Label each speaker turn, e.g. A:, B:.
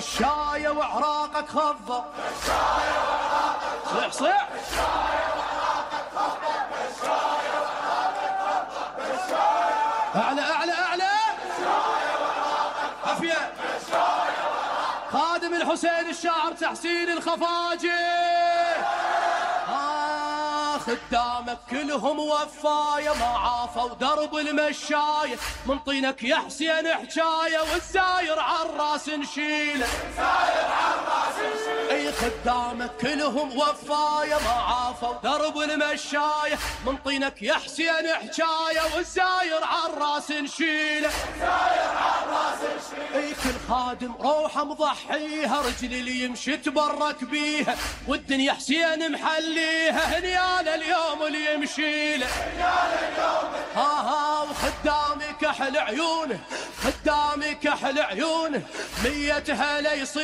A: الشاية وعراقك خضر، صيح صيح اعلى اعلى اعلى عافية. خادم الحسين الشاعر تحسين الخفاجي، خدامك كلهم وفاية ما عافوا درب المشاية، من طينك يا حسين حجاية والزاير عالراس نشيله، اي خدامك كلهم وفاية ما عافوا درب المشاية، من طينك يا حسين حجاية والزاير عالراس نشيله، اي كل خادم روحه مضحيها، رجل اللي يمشي تبرك بيها، والدنيا حسين محليها، هنياله اليوم اللي يمشي له، ها وخدامي كحل عيونه، خدامي كحل عيونه، 100 هلا يصير